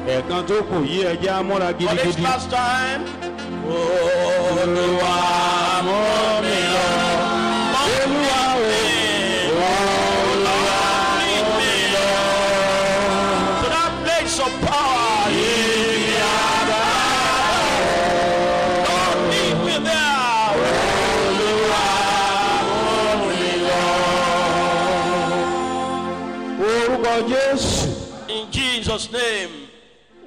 Ẹ̀ẹ̀kan tó kù yí, ẹjẹ́ á múra For this gidigidi. last time. Olúwa, mú mi lọ. Olúwa o. Olúwa, Lead me to that place of power. Yìí àbá. Lord, lead me there. Olúwa, mú mi lọ. Orúkọ Jésù. In Jesus' name.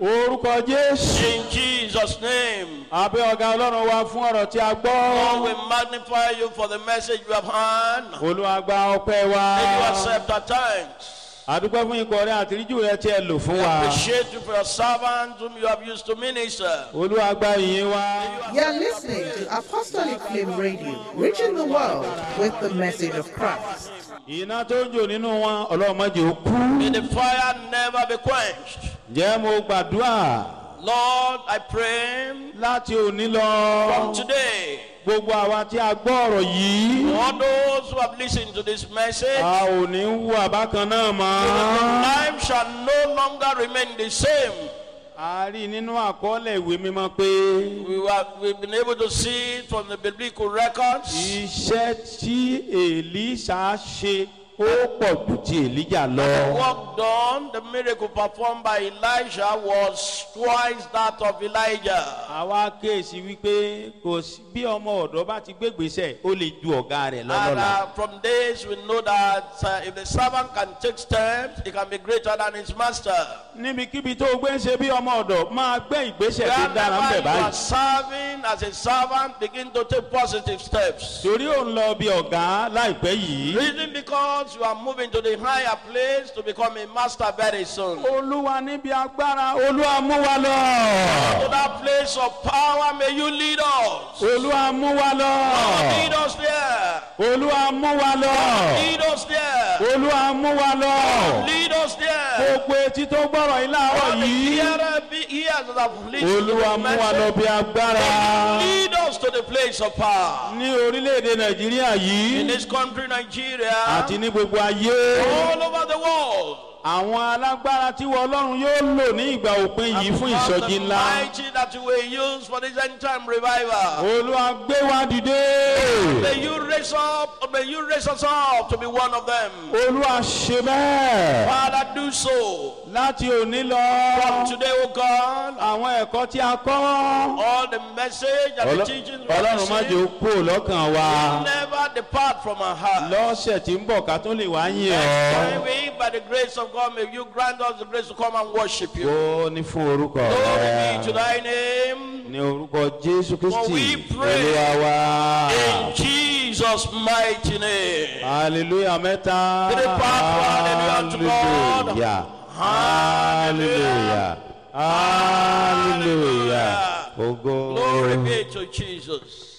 Orúkọ Jésù. In Jesus' name. Àbẹ́ ọ̀gá Ọlọ́run wa fún ọ̀rọ̀ tí a Lord, gbọ́. we magnify you for the message you have heard. Olúwa, gba ọpẹ́ wa. May you accept our thanks. Àdúpẹ́ fún ikọ̀ rẹ àtìríjù rẹ tí ẹ lò fún wa. Appreciate you for your servants whom you have used to minister. Olúwa, gba ìyìn wa. You're listening to Apostolic Flame Radio, reaching the world with the message of Christ. Iná tó ń jò nínú wọn, Ọlọ́run má jẹ́ ó kú. May the fire never be quenched. Ǹjẹ́ mo gbàdúrà Lord, I pray láti òní lọ. from today, Gbogbo àwa tí a gbọ́ ọ̀rọ̀ yìí, all those who have listened to this message, a ò ní wù àbákan náà mọ́. life shall no longer remain the same. A rí nínú àkọọ́lẹ̀ ìwé mímọ́ pé We've been able to see it from the biblical records. iṣẹ́ tí Èlíṣà ṣe, ó pọ̀ ju ti Èlíjà lọ. Work done, the miracle performed by Elijah was twice that of Elijah. Àwa kéèsì wípé kò sí bí ọmọ ọ̀dọ́ bá ti gbégbèsè, ó lè ju ọ̀gá rẹ̀ And lọ́lọ́la. from this, we know that if the servant can take steps, he can be greater than his master. Níbikíbi tó o gbé ń ṣe bí ọmọ ọ̀dọ̀, máa gbé ìgbésẹ̀ tó dára ń Wherever bẹ̀ you are báyìí. serving as a servant, begin to take positive steps. Torí ò ń lọ bí ọ̀gá láìpẹ́ yìí. Reason, because you are moving to the higher place to become a master very soon. Olúwa, níbi agbára, Olúwa, mú wa lọ. To that place of power, may you lead us. Olúwa, mú wa lọ. Lead us there. Olúwa, mú wa lọ. Lead us there. Olúwa, mú wa lọ. Lead us there. Gbogbo etí tó gbọ́rọ̀ yìí láàárọ̀ All the yìí, hearer be ears that have listened to Olúwa, the mú wa lọ message. bí agbára. Lead us to the place of power. Ní orílẹ̀-èdè Nàìjíríà In yìí this country, Nigeria, àti ní gbogbo ayé, all over the world. àwọn alágbára tí wọ́n Ọlọ́run yóò lò ní ìgbà òpin yìí fún Because ìsọjí the ńlá, mighty that you will use for this end time revival. Olúwa, gbé wa dìde. May you raise up, may you raise us up to be one of them. Olúwa, ṣe bẹ́ẹ̀. Father, do so. Láti òní lọ, From today, O God, àwọn ẹ̀kọ́ tí a kọ́, all the message and the teachings we have Ọlọ́run, má jẹ́ ó received kú lọ́kàn wa. never depart from our heart. Lọ́sẹ̀ tí ń bọ̀, ká tó lè wá yìn Next ọ́. time we, by the grace of God, may you grant us the grace to come and worship you. Ó ní fún orúkọ Glory be to rẹ. thy name. Ní orúkọ Jésù Kristi For we pray. Olúwa wa. In Jesus' mighty name. Hallelujah mẹ́ta. Three part, hallelujah unto God. Hallelujah. Hallelujah. Hallelujah. Ògo. Glory be to Jesus.